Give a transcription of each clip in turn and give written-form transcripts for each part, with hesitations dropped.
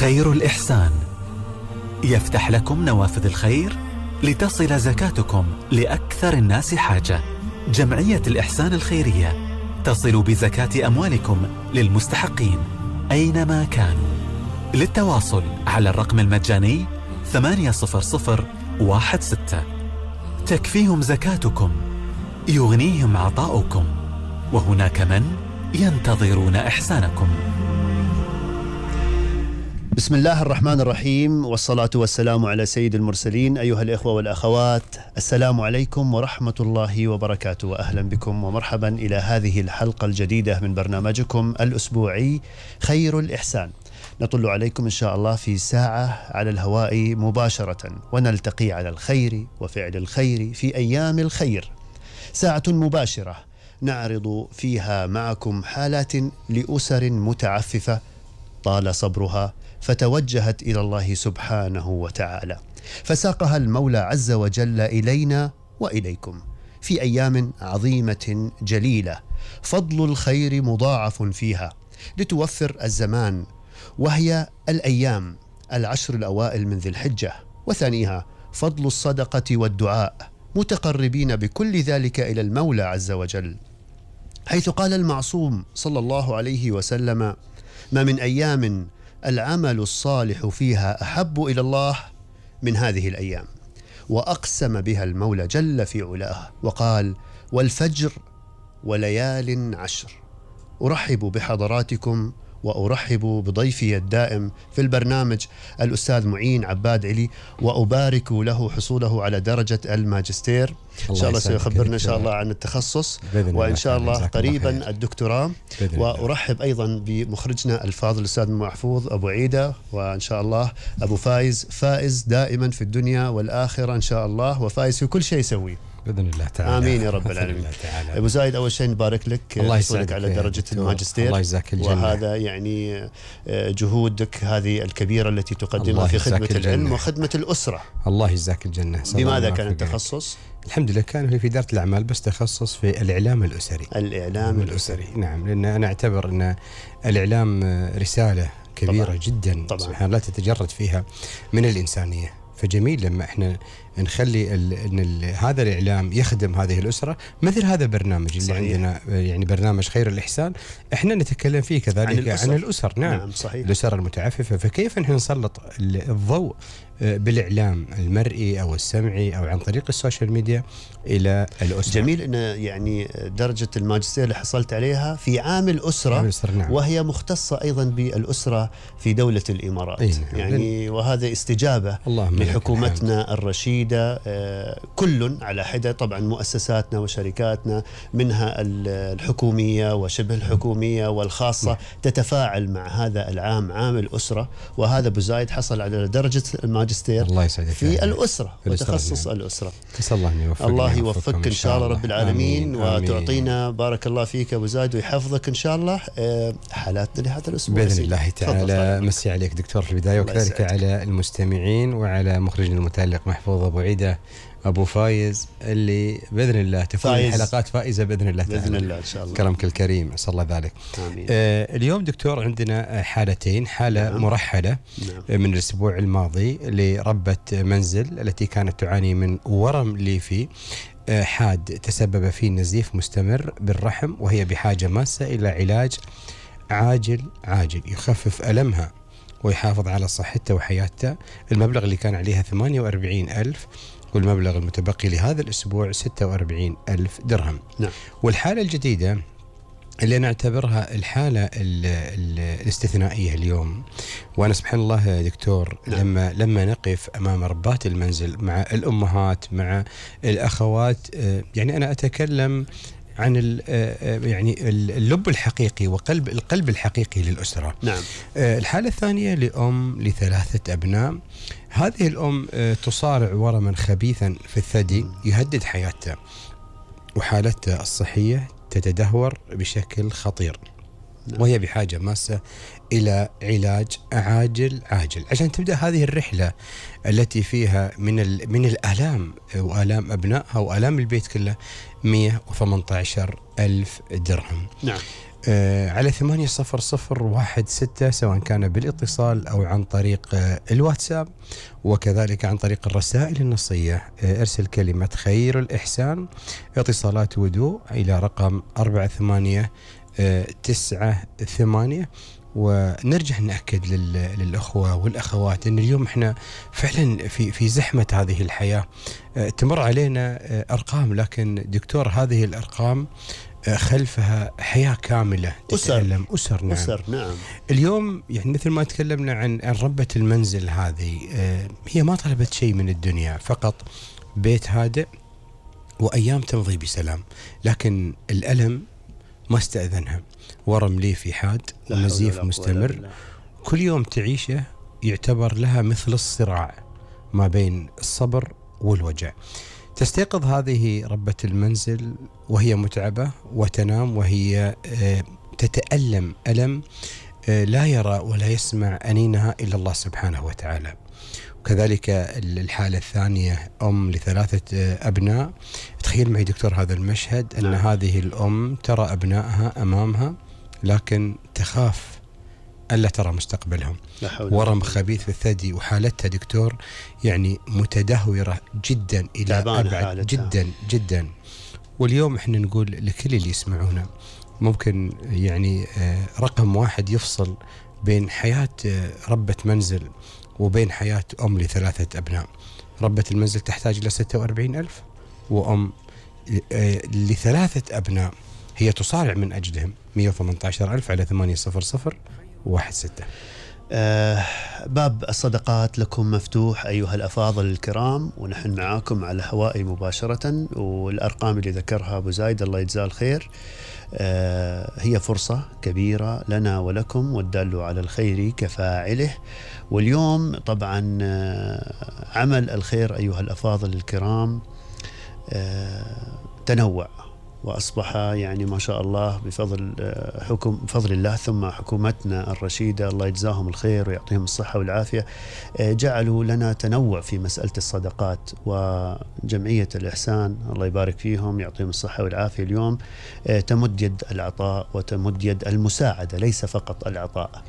خير الإحسان يفتح لكم نوافذ الخير لتصل زكاتكم لأكثر الناس حاجة. جمعية الإحسان الخيرية تصل بزكاة أموالكم للمستحقين أينما كانوا. للتواصل على الرقم المجاني 80016. تكفيهم زكاتكم، يغنيهم عطاؤكم، وهناك من ينتظرون إحسانكم. بسم الله الرحمن الرحيم، والصلاة والسلام على سيد المرسلين. أيها الإخوة والأخوات، السلام عليكم ورحمة الله وبركاته، وأهلا بكم ومرحبا إلى هذه الحلقة الجديدة من برنامجكم الأسبوعي خير الإحسان. نطل عليكم إن شاء الله في ساعة على الهواء مباشرة، ونلتقي على الخير وفعل الخير في أيام الخير. ساعة مباشرة نعرض فيها معكم حالات لأسر متعففة طال صبرها، فتوجهت إلى الله سبحانه وتعالى، فساقها المولى عز وجل إلينا وإليكم في أيام عظيمة جليلة، فضل الخير مضاعف فيها لتوفر الزمان، وهي الأيام 10 الأوائل من ذي الحجة، وثانيها فضل الصدقة والدعاء، متقربين بكل ذلك إلى المولى عز وجل، حيث قال المعصوم صلى الله عليه وسلم: ما من أيام العمل الصالح فيها أحب إلى الله من هذه الأيام. وأقسم بها المولى جل في علاه وقال: والفجر وليال عشر. أرحب بحضراتكم وأرحب بضيفي الدائم في البرنامج الأستاذ معين عباد علي، وأبارك له حصوله على درجة الماجستير. إن شاء الله سيخبرنا إن شاء الله عن التخصص، وإن شاء الله قريبا الدكتوراه. وأرحب أيضا بمخرجنا الفاضل الأستاذ محفوظ أبو عيدة، وإن شاء الله أبو فائز دائما في الدنيا والآخرة إن شاء الله، وفائز في كل شيء يسويه بإذن الله تعالى. آمين يا رب العالمين. أبو زايد، أول شيء نبارك لك، الله يسعدك على درجة الماجستير. الله يجزاك الجنة. وهذا يعني جهودك هذه الكبيرة التي تقدمها في خدمة العلم وخدمة الأسرة. الله يجزاك الجنة. بماذا كان التخصص؟ الحمد لله كان في إدارة الأعمال، بس تخصص في الإعلام الأسري. الإعلام الأسري، نعم، لأن أنا أعتبر أن الإعلام رسالة كبيرة طبعاً. جدا طبعاً. سبحان الله تتجرد فيها من الإنسانية، فجميل لما احنا نخلي ان هذا الاعلام يخدم هذه الاسره، مثل هذا البرنامج اللي صحيح. عندنا يعني برنامج خير الاحسان، احنا نتكلم فيه كذلك عن الاسر. نعم صحيح. الاسر المتعففه، فكيف احنا نسلط الضوء بالاعلام المرئي او السمعي او عن طريق السوشيال ميديا الى الاسره. جميل ان يعني درجه الماجستير اللي حصلت عليها في عام الاسره، نعم. وهي مختصه ايضا بالاسره في دوله الامارات. نعم. يعني وهذا استجابه لحكومتنا الرشيده، كل على حدة. طبعا مؤسساتنا وشركاتنا منها الحكومية وشبه الحكومية والخاصة تتفاعل مع هذا العام، عام الأسرة، وهذا أبو زايد حصل على درجة الماجستير الله يسعدك في الأسرة وتخصص الأسرة. الله يوفقك إن شاء الله رب العالمين. وتعطينا بارك الله فيك أبو زايد ويحفظك إن شاء الله حالاتنا لهذا الأسبوع بإذن الله تعالى. مسي عليك دكتور في البداية، وكذلك على المستمعين وعلى مخرجنا المتألق محفوظ أبو عيدة أبو فايز، اللي بإذن الله تكون الحلقات فائزة بإذن الله تعالى. بإذن الله إن شاء الله. كرمك الكريم، أسأل الله ذلك. آمين. اليوم دكتور عندنا حالتين، حالة مرحلة من الأسبوع الماضي لربة منزل التي كانت تعاني من ورم ليفي حاد تسبب في نزيف مستمر بالرحم، وهي بحاجة ماسة إلى علاج عاجل يخفف ألمها ويحافظ على صحتها وحياتها. المبلغ اللي كان عليها 48,000، والمبلغ المتبقي لهذا الأسبوع 46,000 درهم. نعم. والحالة الجديدة اللي نعتبرها الحالة الاستثنائية اليوم، وأنا سبحان الله يا دكتور لما نقف أمام ربات المنزل مع الأمهات مع الأخوات، يعني أنا أتكلم عن يعني اللب الحقيقي القلب الحقيقي للأسرة. نعم. الحالة الثانية لأم ل3 أبناء. هذه الأم تصارع ورما خبيثا في الثدي يهدد حياتها، وحالتها الصحية تتدهور بشكل خطير، وهي بحاجة ماسة إلى علاج عاجل عشان تبدأ هذه الرحلة التي فيها من الآلام وآلام أبنائها وآلام البيت كله 118,000 درهم. نعم. على 80016 سواء كان بالاتصال أو عن طريق الواتساب، وكذلك عن طريق الرسائل النصية. ارسل كلمة خير الإحسان اتصالات ودوء إلى رقم 48998. ونرجع نأكد للأخوة والأخوات أن اليوم إحنا فعلا في زحمة هذه الحياة، تمر علينا أرقام، لكن دكتور هذه الأرقام خلفها حياة كاملة تتألم. أسر. نعم. أسر. نعم. اليوم يعني مثل ما تكلمنا عن ربة المنزل هذه، هي ما طلبت شيء من الدنيا، فقط بيت هادئ وأيام تمضي بسلام، لكن الألم ما استأذنها. ورم ليفي حاد ونزيف مستمر، كل يوم تعيشه يعتبر لها مثل الصراع ما بين الصبر والوجع. تستيقظ هذه ربة المنزل وهي متعبة وتنام وهي تتألم ألم لا يرى ولا يسمع أنينها إلا الله سبحانه وتعالى. وكذلك الحالة الثانية أم ل3 أبناء. تخيل معي دكتور هذا المشهد، أن هذه الأم ترى أبنائها أمامها لكن تخاف ألا ترى مستقبلهم. ورم خبيث في الثدي، وحالتها دكتور يعني متدهورة جدا إلى أبعد جدا جدا. واليوم احنا نقول لكل اللي يسمعونا، ممكن يعني رقم واحد يفصل بين حياة ربة منزل وبين حياة أم ل3 أبناء. ربة المنزل تحتاج إلى 46,000، وأم ل3 أبناء هي تصارع من أجلهم 118,000 على 80016. باب الصدقات لكم مفتوح أيها الأفاضل الكرام، ونحن معاكم على الهواء مباشرة. والأرقام اللي ذكرها أبو زايد الله يجزاه الخير هي فرصة كبيرة لنا ولكم، والدال على الخير كفاعله. واليوم طبعا عمل الخير أيها الأفاضل الكرام تنوع، وأصبح يعني ما شاء الله بفضل الله ثم حكومتنا الرشيدة الله يجزاهم الخير ويعطيهم الصحة والعافية، جعلوا لنا تنوع في مسألة الصدقات. وجمعية الإحسان الله يبارك فيهم يعطيهم الصحة والعافية اليوم تمد يد العطاء وتمد يد المساعدة، ليس فقط العطاء.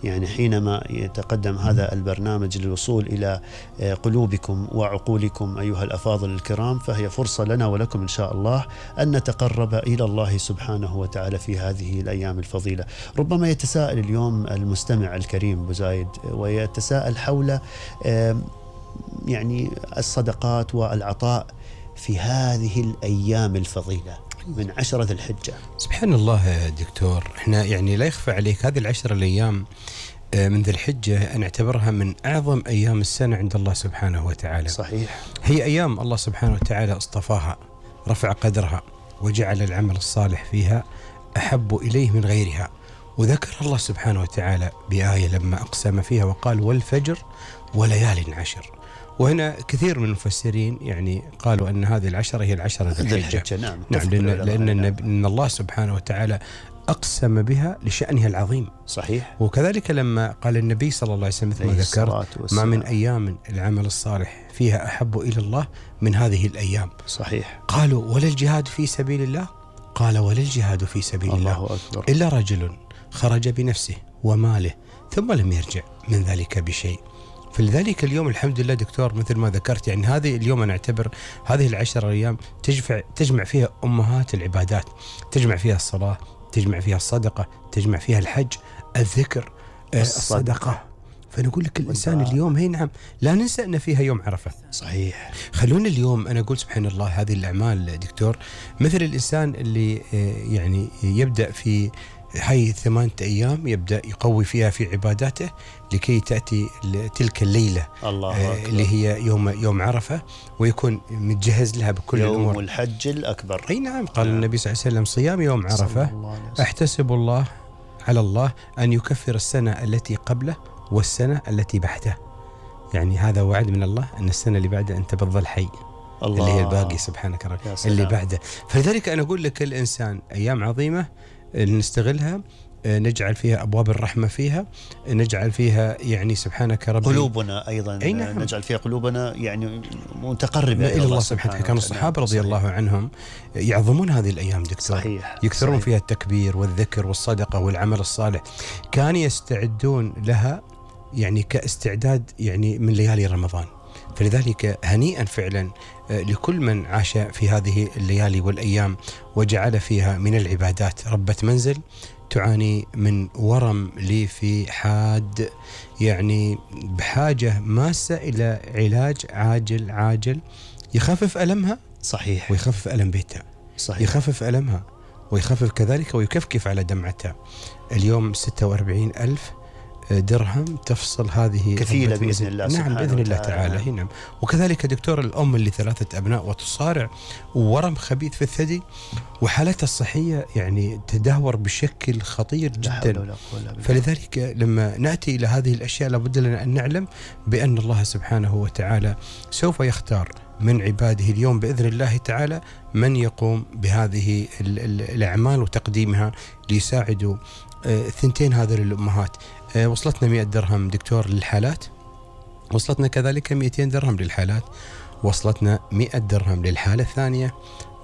يعني حينما يتقدم هذا البرنامج للوصول إلى قلوبكم وعقولكم أيها الأفاضل الكرام، فهي فرصة لنا ولكم إن شاء الله أن نتقرب إلى الله سبحانه وتعالى في هذه الأيام الفضيلة. ربما يتساءل اليوم المستمع الكريم أبو زايد ويتساءل حول يعني الصدقات والعطاء في هذه الأيام الفضيلة من 10 ذي الحجة. سبحان الله دكتور، احنا يعني لا يخفى عليك هذه ال10 الأيام من ذي الحجة أنا أعتبرها من أعظم أيام السنة عند الله سبحانه وتعالى. صحيح. هي أيام الله سبحانه وتعالى اصطفاها، رفع قدرها، وجعل العمل الصالح فيها أحب إليه من غيرها. وذكر الله سبحانه وتعالى بآية لما أقسم فيها وقال والفجر وليال عشر. وهنا كثير من المفسرين يعني قالوا أن هذه ال10 هي ال10 ذي الحجة. نعم لأن الله سبحانه وتعالى أقسم بها لشأنها العظيم. صحيح. وكذلك لما قال النبي صلى الله عليه وسلم مثل ما ذكرت ما من أيام العمل الصالح فيها أحب إلى الله من هذه الأيام. صحيح. قالوا ولا الجهاد في سبيل الله؟ قال ولا الجهاد في سبيل الله إلا رجل خرج بنفسه وماله ثم لم يرجع من ذلك بشيء. فلذلك اليوم الحمد لله دكتور مثل ما ذكرت، يعني هذه اليوم أنا أعتبر هذه ال10 أيام تجمع فيها أمهات العبادات، تجمع فيها الصلاة، تجمع فيها الصدقة، تجمع فيها الحج، الذكر، الصدقة. فنقول لك الإنسان اليوم هي نعم لا ننسى أن فيها يوم عرفة. صحيح. خلونا اليوم أنا أقول سبحان الله هذه الأعمال دكتور مثل الإنسان اللي يعني يبدأ في هاي 8 أيام يبدأ يقوي فيها في عباداته لكي تأتي تلك الليلة اللي هي يوم عرفة، ويكون متجهز لها بكل الأمور. يوم الحج الأكبر. أي نعم. قال النبي صلى الله عليه وسلم صيام يوم عرفة أحتسب الله على الله أن يكفر السنة التي قبله والسنة التي بعده. يعني هذا وعد من الله أن السنة اللي بعده أنت بتظل حي، اللي هي الباقي سبحانك رب اللي بعده. فلذلك أنا أقول لك الإنسان أيام عظيمة نستغلها نجعل فيها أبواب الرحمة فيها، نجعل فيها يعني سبحانك ربي قلوبنا أيضا نعم. نجعل فيها قلوبنا يعني متقربة إلى الله سبحانه. كان الصحابة رضي الله عنهم يعظمون هذه الأيام دكتور. صحيح. يكثرون فيها التكبير والذكر والصدقة والعمل الصالح، كانوا يستعدون لها يعني كاستعداد يعني من ليالي رمضان. فلذلك هنيئا فعلا لكل من عاش في هذه الليالي والأيام وجعل فيها من العبادات. ربة منزل تعاني من ورم ليفي حاد، يعني بحاجة ماسة إلى علاج عاجل يخفف ألمها. صحيح. ويخفف ألم بيتها. صحيح. يخفف ألمها ويخفف كذلك ويكفكف على دمعتها. اليوم 46,000 درهم تفصل هذه كفيلة بإذن الله. نعم بإذن الله تعالى. نعم. وكذلك دكتور الأم اللي 3 أبناء وتصارع ورم خبيث في الثدي وحالتها الصحية يعني تدهور بشكل خطير جدا. فلذلك لما نأتي إلى هذه الأشياء لابد لنا أن نعلم بأن الله سبحانه وتعالى سوف يختار من عباده اليوم بإذن الله تعالى من يقوم بهذه الأعمال وتقديمها ليساعدوا 2 هذه الأمهات. وصلتنا 100 درهم دكتور للحالات، وصلتنا كذلك 200 درهم للحالات، وصلتنا 100 درهم للحالة الثانية،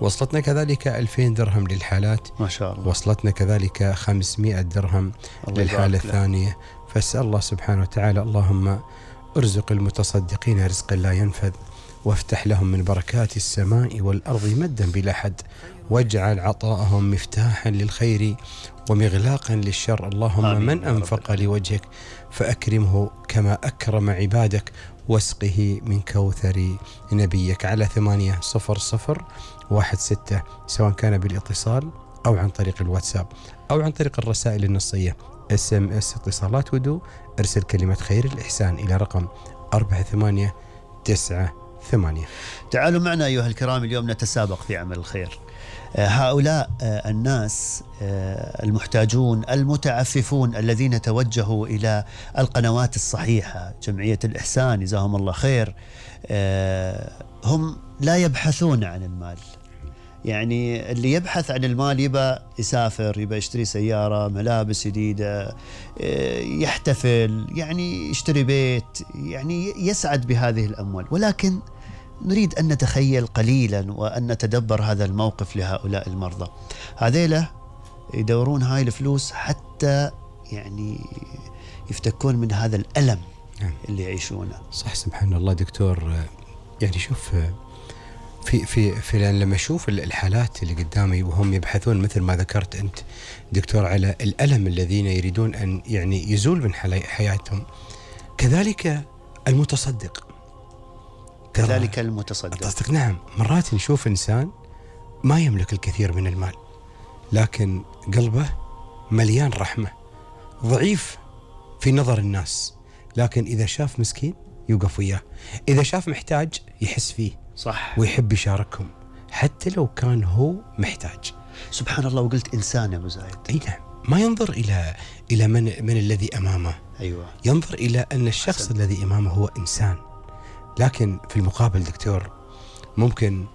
وصلتنا كذلك 2000 درهم للحالات ما شاء الله، وصلتنا كذلك 500 درهم للحالة الثانية. فاسأل الله سبحانه وتعالى اللهم ارزق المتصدقين رزقا لا ينفذ، وافتح لهم من بركات السماء والأرض مدا بلا حد، واجعل عطاءهم مفتاحا للخير ومغلاقا للشر. اللهم من أنفق لوجهك فأكرمه كما أكرم عبادك، واسقه من كوثر نبيك. على 80016 سواء كان بالاتصال أو عن طريق الواتساب أو عن طريق الرسائل النصية SMS اتصالات ودو، ارسل كلمة خير الإحسان إلى رقم 48988. تعالوا معنا أيها الكرام، اليوم نتسابق في عمل الخير. هؤلاء الناس المحتاجون المتعففون الذين توجهوا إلى القنوات الصحيحة، جمعية الإحسان جزاهم الله خير، هم لا يبحثون عن المال. يعني اللي يبحث عن المال يبقى يسافر، يبقى يشتري سيارة، ملابس جديدة، يحتفل، يعني يشتري بيت، يعني يسعد بهذه الأموال. ولكن نريد أن نتخيل قليلا وأن نتدبر هذا الموقف لهؤلاء المرضى. هذيلا يدورون هاي الفلوس حتى يعني يفتكون من هذا الألم اللي يعيشونه. صح، سبحان الله دكتور. يعني شوف في لما أشوف الحالات اللي قدامي وهم يبحثون مثل ما ذكرت أنت دكتور على الألم الذين يريدون أن يعني يزول من حياتهم، كذلك المتصدق. كذلك المتصدق. نعم، مرات نشوف إنسان ما يملك الكثير من المال لكن قلبه مليان رحمة، ضعيف في نظر الناس، لكن إذا شاف مسكين يوقف وياه، إذا شاف محتاج يحس فيه. صح. ويحب يشاركهم حتى لو كان هو محتاج. سبحان الله. وقلت إنسان يا أبو زايد. أي نعم، ما ينظر إلى من الذي أمامه. أيوة. ينظر إلى أن الشخص الذي أمامه هو إنسان. لكن في المقابل دكتور ممكن